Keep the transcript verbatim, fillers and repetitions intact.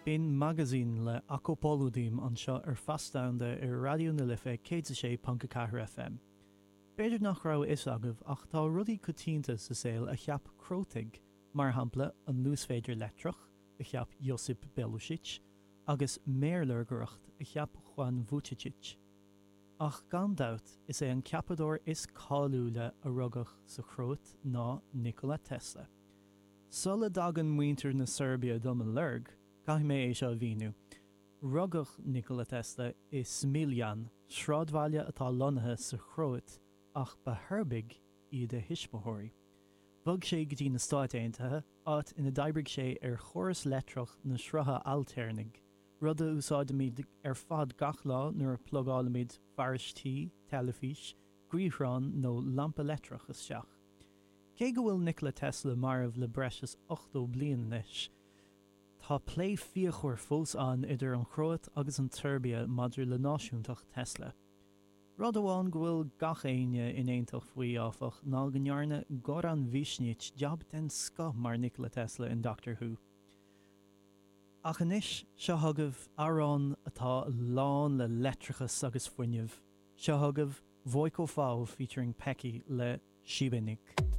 B'in Magazin le Ako Poludim anseo ar Feasta ar Raidió na Life céad a sé ponc a ceathair FM. B'fhéidir nach raibh fhios agaibh ach tá rudaí coitianta sa saol a cheap Crótaigh, mar shampla an luasmhéadar leictreach a cheap Josip Belušić agus méarlorgaireacht a cheap Juan Vucetich. Ach gan dabht is é an ceapadóir is cáiliúla a rugadh sa Chróit ná Nikola Tesla. Sula dtagann muintir na Seirbia do mo lorg, caithfidh mé é seo a mhíniú. Rugadh Nikola Tesla i Smiljan, sráidbhaile atá lonnaithe sa Chróit ach ba Sheirbiaigh iad a thuismitheoirí. Bhog sé go dtí na Stáit Aontaithe, áit ina d'oibrigh sé ar chóras leictreach na srutha ailtéarnaigh, rud a úsáidimid ar fad gach lá nuair a phlugálaimid fearas tí, teilifís, gaothrán nó lampa leictreach isteach. Cé go bhfuil Nikola Tesla marbh le breis is ochtó bliain anois, Tá plé fíochmhar fós ann idir an Chróit agus an tSeirbia maidir le náisiúntacht Tesla. Rud amháin go bhfuil gach éinne in aontacht faoi áfach ná go ndearna Goran Višnjić jab den scoth mar Nikola Tesla in Doctor Who. Ach anois seo chugaibh amhrán atá lán le leictreachas agus fuinneamh. Seo chugaibh Vojko Fao featuring Peki le Šibenik.